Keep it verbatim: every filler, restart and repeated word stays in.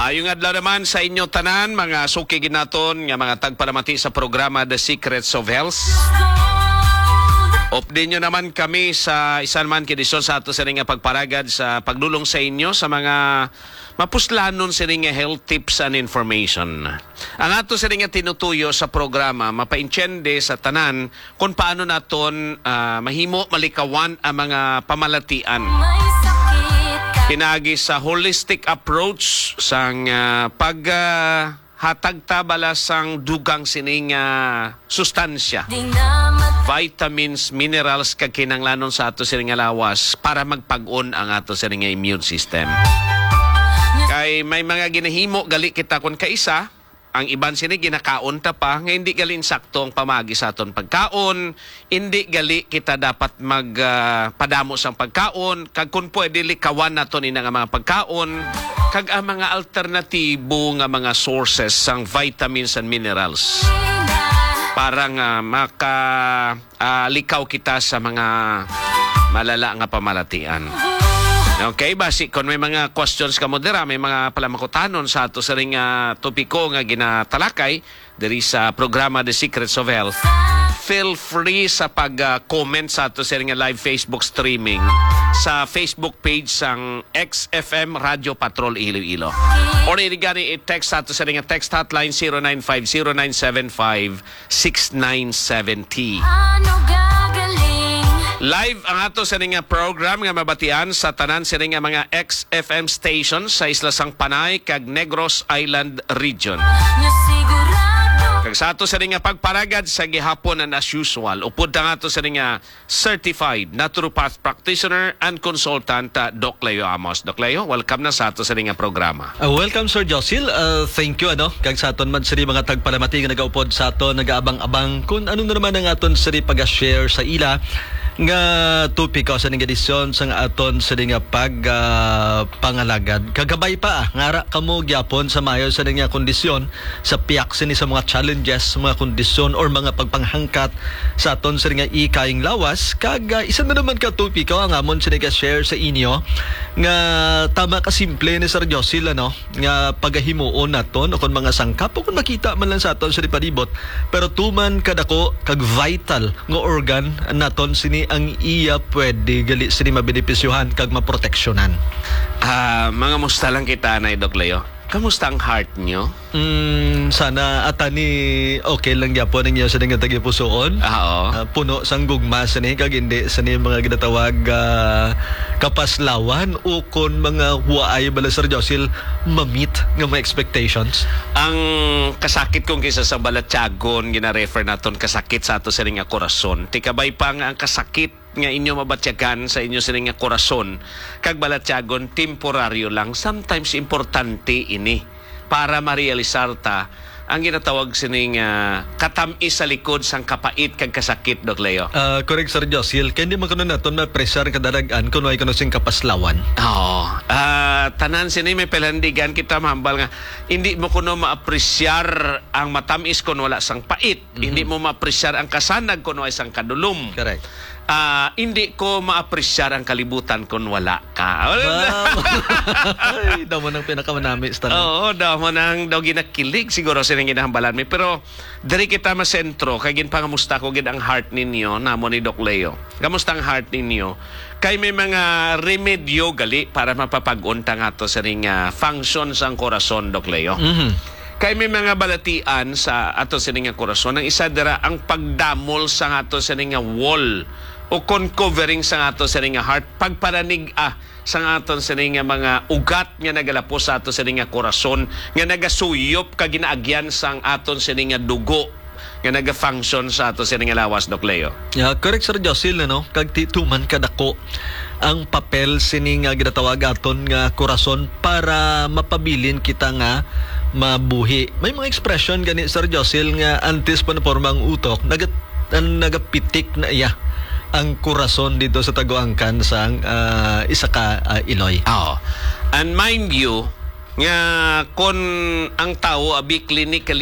Ayong adlaw naman sa inyo tanan, mga suki gid naton nga mga tagpalamati sa programa The Secrets of Health. Update nyo naman kami sa isa naman ka edisyon sa ato sini nga pagparagad sa pagdulong sa inyo sa mga mapuslanon sini nga health tips and information. Ang ato sini nga tinutuyo sa programa, mapaintyende sa tanan kung paano naton, ah, mahimo malikawan ang mga pamalatian. Pinaagi sa holistic approach sang, ah, pag, ah, hatag ta bala sang dugang sining, ah, sustansya, vitamins, minerals, kag kinahanglanon sa ato sini nga lawas para magpag-on ang ato sini nga immune system. Kay may mga ginahimo gali kita kon kaisa, ang iban sini ginakaon ta pa nga hindi gali insakto ang pamaagi sa aton pagkaon, hindi gali kita dapat mag, ah, padamo sang pagkaon, kag kung pwede likawan naton ina nga mga pagkaon, kag ang mga alternatibo nga mga sources sang vitamins and minerals para nga maka, ah, likaw kita sa mga malala nga pamalatian. Okay, basi kung may mga questions kamo dira, may mga palamangkutanon sa ato sining, ah, topiko nga ginatalakay diri sa programa The Secrets of Health, feel free sa pag, ah, comment sa ato sining live Facebook streaming sa Facebook page sang X F M Radio Patrol Iloilo. Or ini gani i-text sa ato sining text hotline zero nine five zero nine seven five six nine seven zero. Ano gagaling? Live ang ato sa nga program nga mabatian sa tanan sini nga mga X F M stations sa Isla sang Panay kag Negros Island Region. Nga sigurado. Kag sa ato sini nga pagparagad sa gihapon, and as usual, upod ang ato sini nga certified naturopath practitioner and consultant, uh, Doc Leo Amos. Doc Leo, welcome na sa ato sini nga programa. Ah, welcome, Sir Josil. Ah, thank you, ano, kag sa aton man sini mga tagpalamati nga nagaupod sa aton, nagaabang-abang kung ano na naman ang aton sini pag-share sa ila nga topiko sa ning edisyon sang aton sini nga pag, ah, pangalagad. Kagabay pa, ah, ngara kamo gyapon sa mayo sa ning nga kondisyon, sa piyak sini sa mga challenges, mga kondisyon, or mga pagpanghangkat sa aton sini nga ikayang lawas. Kag, ah, isa na naman ka topiko ang amon sini ka share sa inyo nga tama ka simple ni Sir Josil, ano, nga pagahimuon naton o kon mga sangkap o kon makita man lang sa aton sa palibot, pero tuman kadako kag vital nga organ naton sini ang iya pwede gali sini mabenepisyohan kag maproteksyonan. Ah, mga musta lang kita, Nay Doc Leo? Kamusta ang heart nyo? Mm, sana atani okay lang gyapon ang inyo sa nga tagipusoon. Ah, oo. Ah, puno sang gugma sini kag hindi sini mga ginatawag, ah, kapaslawan o kon mga waay bala, Sir Josil, mamit nga mga expectations. Ang kasakit kung kisa sa balatyagon, gina-refer naton kasakit sa ato sini nga korason. Tikabay pa nga ang kasakit nga inyo mabatyagan sa inyo sini nga korason kag balatyagon, temporaryo lang. Sometimes importante ini para marealisar ta ang ginatawag sini nga katam-is sa likod sang kapait kag kasakit, Doc Leo. Ah, correct, Sir Josil. Kay hindi man kuno naton ma-appreciate ang kadalag-an kung way kuno sing kapaslawan. Oo. Ah, tanan sini may palandigan kita mahambal nga hindi mo kuno ma-appreciate ang matamis kung wala sang pait. Mhm. Hindi mo ma-appreciate ang kasanag kung way sang kadulom. Correct. Ah, hindi ko ma-appreciate ang kalibutan kung wala ka. Wow. Ay, damo nang pinakamanami sa tanan. Oo, damo nang daw ginakilig siguro sa nang ginahambalan mi. Pero diri kita masentro, kay ginpangamusta ko gid ang heart ninyo, namo ni Doc Leo. Kamusta ang heart ninyo? Kay may mga remedyo gali para mapapag-unta nga to sa ring, ah, function sang korason, Doc Leo. Mhm. Kay may mga balatian sa ato sini nga korason. Ang isa dira, ang pagdamol sa ato sini nga wall o kon covering sa ato sini nga heart, pagpananig-a sa aton sini nga mga ugat nga nagalapos sa ato sini nga korason, nga nagasuyop kag ginaagyan sang aton sini nga dugo nga naga-function sa ato sini nga lawas, Doc Leo. Yeah, correct, Sir Josil, no? Kag ti tuman kadako ang papel sini nga ginatawag aton nga korason para mapabilin kita nga mabuhi. May mga expression gani, Sir Josil, nga antes pa naporma ang utok, nagat-, ang nagapitik na iya ang korason dito sa taguangkan sang, ah, isa ka, ah, iloy. Oo. And mind you, nga kon ang tawo abi clinically